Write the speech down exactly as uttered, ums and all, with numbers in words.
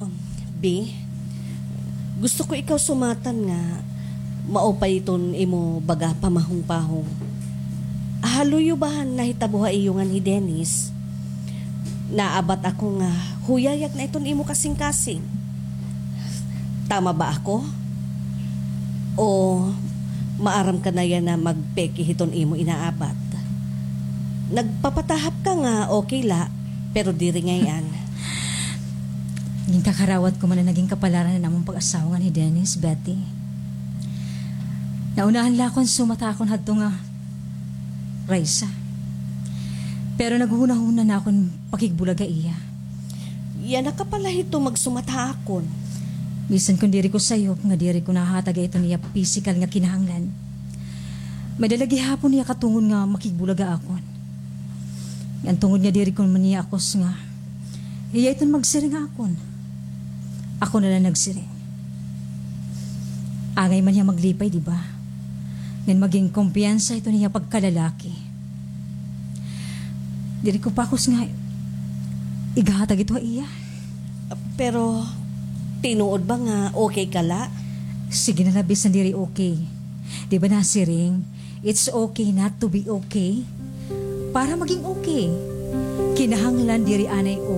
Um, Bi, gusto ko ikaw sumatan nga maupay iton imo baga pamahong-pahong. Haluyo ba han nahitabo ha iyo ngan hi Dennis? Naabat ako nga huyayag na iton imo kasingkasing. Tama ba ako? O maaram ka na yana magpeke hiton imo inaabat? Nagpapatahap ka nga okay la, pero diri ngay-an. Ginkakarawat ko man an naging kapalaran han amon pag-asawa ngan hi Dennis, Betty. Naunahan la akon sumat ha akon hadto nga Raisa. Pero naghunahuna na akon pakigbulag ha iya. Yana ka pala hito magsumat ha akon. Bisan kon diri ko sayop nga diri ko nahatag ha iton iya pisikal nga kinahanglan, may-ada la gihapon hiya katungod nga makigbulag ha akon. Ngan tungod nga diri ko man hiya akos nga hiya iton magsiring ha akon, ako na la nagsiring. Angay man hiya maglipay, di ba? Ngan magin kumpiyansa iton iya pagkalalaki. Diri ko pakos nga ighatag ito ha iya. Pero tinuod ba nga okay ka la? Sige na la, bisan diri okay. Di ba nasiring, it's okay not to be okay? Para magin okay, kinahanglan diri anay okay.